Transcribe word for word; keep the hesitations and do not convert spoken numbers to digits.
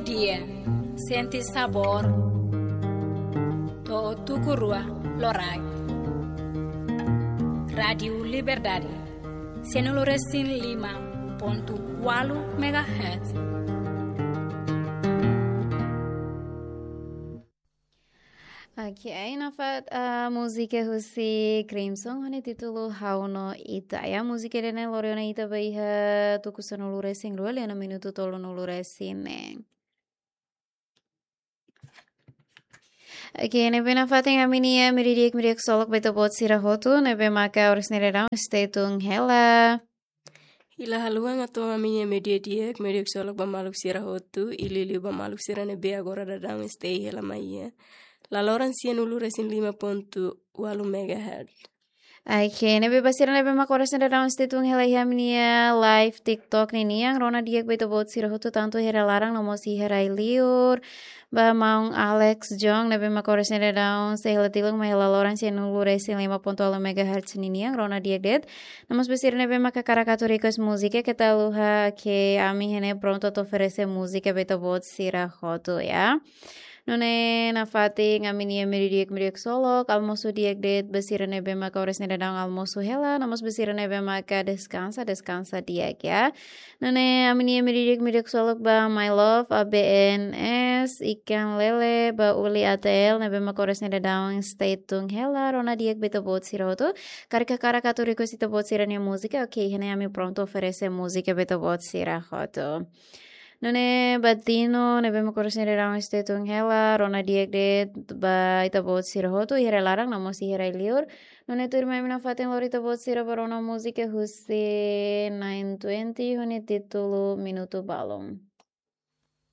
Dia, sente sabór. To'o tuku rua loraik. Rádiu Liberdade, sianulu resin lima pontu ualu megahertz. Oke, nafatin, ah, múzika husi Crimson ho nia títulu Ha'u no Ita. Ya, múzika ida-ne'e lori ona ita ba iha tuku sanulu resin rua liu ona minutu tolunulu resin neen. Oke, ne'ebé nafatin ami-nia méridi'ak, méridi'ak ksolok ba ita-boot sira hotu, ne'ebé maka oras ne'e daudaun stay tune hela. Ha'u la haluha atu ami-nia méridi'ak, méridi'ak ksolok ba maluk sira hotu, i liuliu ba maluk sira ne'ebé agora daudaun stay hela mai iha laloran sianulu resin lima pontu ualu megahertz. Oke, ne'ebé ba sira ne'ebé maka oras ne'e daudaun stay tune hela iha ami-nia live TikTok ninian, rona di'ak ba ita-boot sira hotu tantu iha rai laran no mós iha rai liur. Ba maun Alex Jong ne'ebé maka oras ne'e daudaun stay hela tilun mai iha laloran sianulu resin lima pontu ualu megahertz ninian, rona di'ak de'it. No mós ba sira ne'ebé maka hakarak atu request múzika, keta haluha ke ami iha ne'e prontu atu oferese múzika ba ita-boot sira hotu ya. Nune'e nafatin ami-nia méridi'ak, méridi'ak ksolok, almosu di'ak de'it ba sira ne'ebé maka oras ne'e daudaun almosu hela, no mós ba sira ne'ebé maka deskansa, deskansa di'ak ya. Nune'e ami-nia méridi'ak, méridi'ak ksolok ba My Love, A B N S, Ikan Lele, ba Uli A T L, ne'ebé maka oras ne'e daudaun stay tune hela, rona di'ak ba ita-boot sira hotu. Karik hakarak atu request ita-boot sira-nia múzika, oke, iha ne'e ami prontu oferese múzika ba ita-boot sira hotu. Nune'e ba Dino, ne'ebé maka oras ne'e daudaun stay tune hela, rona di'ak de'it ba ita-boot sira hotu, iha rai laran no mós iha rai liur. Nune'e tuirmai ami nafatin lori ita-boot sira ba rona múzika husi nine twenty, ho nia títulu Minutu Balun.